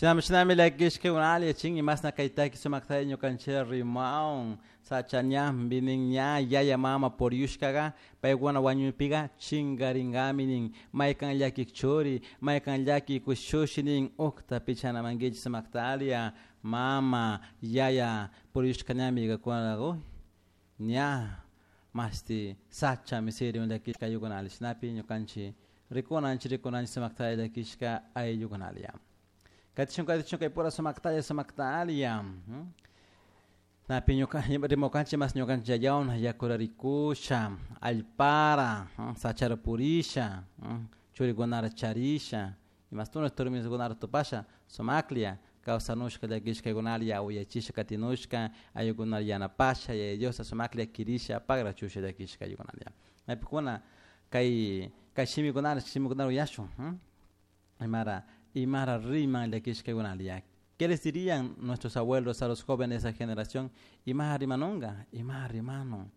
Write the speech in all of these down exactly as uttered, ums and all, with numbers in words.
Shinami shinami llakishka chin imasna kaytaki sumaktalla ñukanchik rimawan sacha ñanpi nin ña yaya mama puriyushkaga paykuna wañuypiga chinkarinkami nin maykan llakik churi maykan llaki kushushi nin ukta pichanamankichik sumaktalia mama yaya puriyushka ñami kuna uy ña mashti sachami sirin llakishka ayllukunali shinapi ñukanchik rikunanchik rikunanchik sumaktalla llakishka ayllukunalia. Katishun katishun kay pura sumaktalla sumaktalia. Napi ñuka rimukanchik mas ñukanchik yayawna yakurarikusha allpara sachara purisha churikunara charisha imastuna turmiskunara tupasha sumaklia kawsanushka llakishkaykunalia uyachisha katinushka ayllukunata yanapasha Yaya Diosta sumaklla kirisha pagrachusha llakishka ayllukunalia. Maypikuna kay kay shimikunara shimikunara uyashun imara imara riman llakishkaykunalia. ¿Qué les dirían nuestros abuelos a los jóvenes de esa generación? Ima rimanunga, ima rimanu,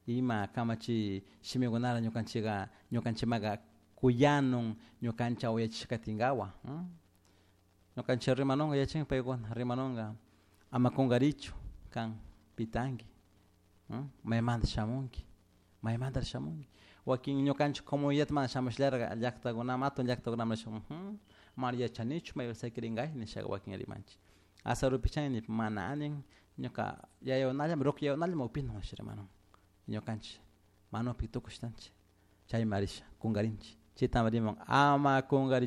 ima kamachi shimikunara ñukanchika ñukanchimaga kuyanun ñukancha uyachishkatinkawa. Ñukanchik rimanunga yachin paykuna rimanunga ama kunkarichu kan pitanki, maymanta shamunki, maymanta shamunki. Wakin ñukanchik comunidad mana shamushallarka llaktakunaman hatun llaktakunaman shamun mana yachanichu maypi sakiringay nishaka wakin rimanchik. Azarupi ni mana nin ñuka yayawunalla ruku yayawunalla upinu nisha rimanun ñukanchik manupi tukushtanchik chayma risha kunkarinchik chaytami riman ama kunkarichu.